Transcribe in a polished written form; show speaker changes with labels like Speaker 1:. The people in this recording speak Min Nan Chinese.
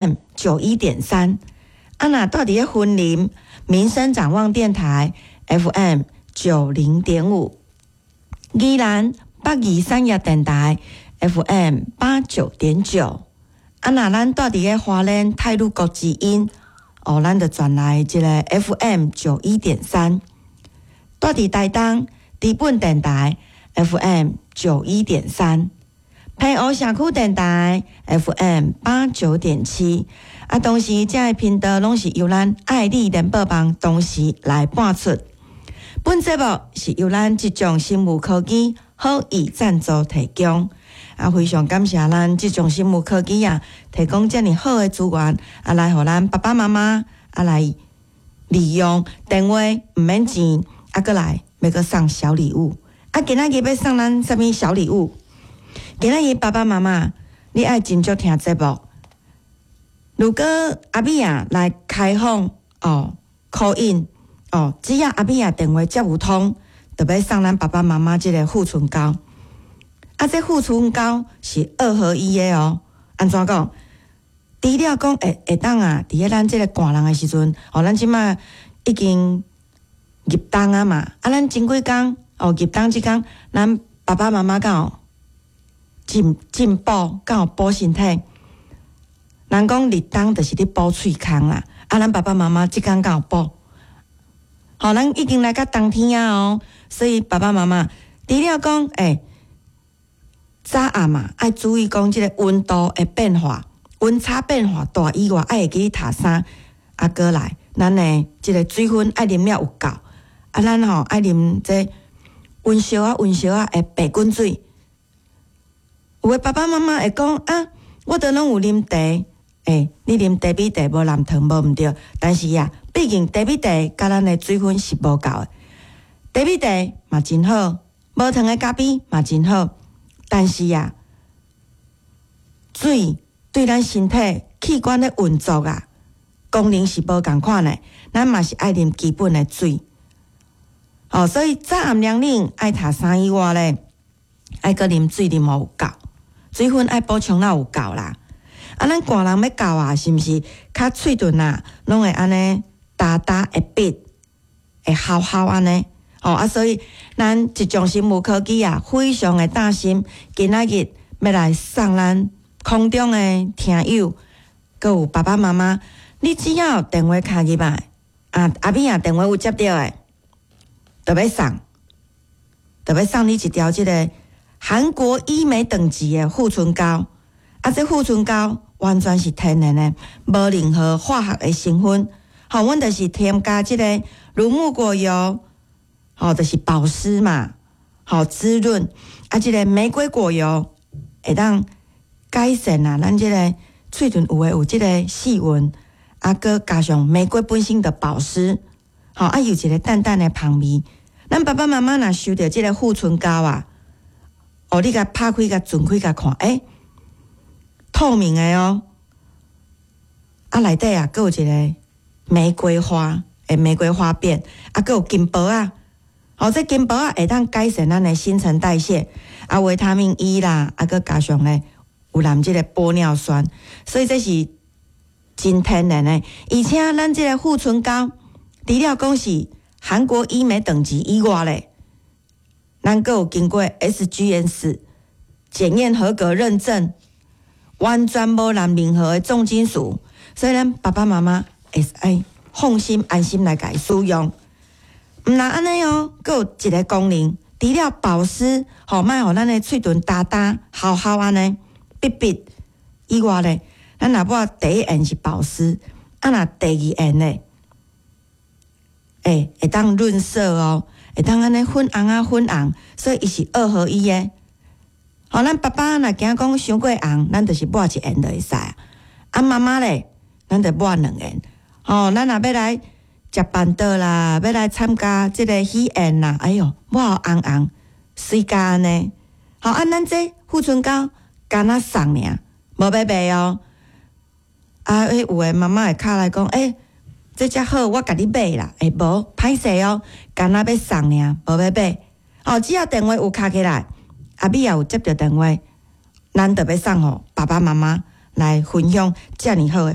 Speaker 1: 91.3。啊，若蹛佇咧雲林民生展望電台 FM 90.5，宜蘭北宜產業電台 FM 89.9。啊，若咱蹛佇咧花蓮太魯閣之音，哦，咱就轉來這个 FM 91.3。蹛佇台東知本電台 FM 91.3，澎湖社區電台 FM 89.7。啊，同時這个頻道攏是由咱愛麗聯播網同時來播出。本節目是由咱這種生物科技好意贊助提供。啊，非常感謝咱這種生物科技啊，提供遮爾好的資源，啊，來予咱爸爸媽媽啊來利用，電話毋免錢，啊，閣來欲閣送小禮物。啊，今仔日欲送咱啥物小禮物？今仔日爸爸媽媽，你愛真足聽節目。如果阿美仔來開放哦，call in 哦，只要阿美仔電話接有通，就欲送咱爸爸媽媽這个護唇膏。啊，這護唇膏是二合一的哦。按怎講？除了講會會當啊，佇咧咱這个寒人的時陣，哦，咱這馬已經入冬啊嘛，啊，咱前幾工哦，入冬這工，咱爸爸媽媽敢有進進補，敢有補身體？人講立冬就是咧補喙空啦，啊，咱爸爸媽媽這工敢有補？吼，咱已經來到冬天啊哦，所以爸爸媽媽除了講，欸，早暗嘛愛注意講這个溫度的變化，溫差變化大以外，愛會記得脫衫，啊，閣來，咱的這个水分愛啉了有夠，啊，咱吼愛啉這溫燒仔溫燒仔的白滾水。有的爸爸媽媽會講啊，我都攏有啉茶。欸，你啉茶米茶無含糖無毋對，但是啊，畢竟茶米茶佮咱的水分是無夠的。茶米茶嘛真好，無糖的咖啡嘛真好，但是啊，水對咱身體器官的運作啊，功能是無仝款的，咱嘛是愛啉基本的水。哦，所以早暗涼冷愛脫衫以外咧，愛閣啉水啉予有夠，水分愛補充了有夠啦。啊，咱寒人欲到啊，是毋是較喙唇啊，攏會按呢焦焦會篦，會鱟鱟按呢？哦啊，所以咱這種生物科技啊，非常的擔心，今仔日欲來送咱空中的聽友，閣有爸爸媽媽，你只要電話敲入來，啊，阿美仔電話有接著的，就欲送，就欲送你一條這个韓國醫美等級的護唇膏。啊，這護唇膏完全是天然的，無任何化學的成分。吼，阮就是添加這个乳木果油，吼，就是保濕嘛，吼，滋潤。啊，這个玫瑰果油會當改善啊，咱這个喙唇有的有這个細紋，啊，閣加上玫瑰本身的保濕，吼，啊，有一个淡淡的芳味。咱爸爸媽媽若收著這个護唇膏啊，哦，你共拍開、共轉開、共看，欸，透明的哦，啊，內底啊，閣有一个玫瑰花的玫瑰花瓣，啊，閣有金箔仔，哦，這金箔仔會當改善咱的新陳代謝，啊，維他命 E 啦，啊，閣加上咧有含這个玻尿酸，所以這是真天然的，而且咱這个護唇膏，除了講是韓國醫美等級以外咧，咱閣有經過 SGS 檢驗合格認證。完全無含任何的重金屬，所以咱爸爸媽媽會使放心安心來共伊使用。毋但按呢哦，閣有一个功能，除了保濕，吼，莫予咱的喙唇焦焦、鱟鱟按呢，篦篦以外咧，咱若抹第一層是保濕，啊若第二層咧，欸，會當潤色哦，會當按呢粉紅啊粉紅，所以伊是二合一的。吼，咱爸爸若驚講傷過紅，咱就是抹一層就會使啊。啊，媽媽咧，咱就抹兩層。吼，咱若欲來食辦桌啦，欲來參加這个喜宴啦，哎喲，抹予紅紅，媠甲按呢。吼，啊，咱這護唇膏敢若送爾，無欲賣哦。啊，彼有的媽媽會敲來講，欸，這遮好，我共你買啦。欸，無，歹勢哦，敢若欲送爾，無欲買。哦，只要電話有敲起來，阿美仔有接著電話，咱就欲送予爸爸媽媽。來分享遮爾好的。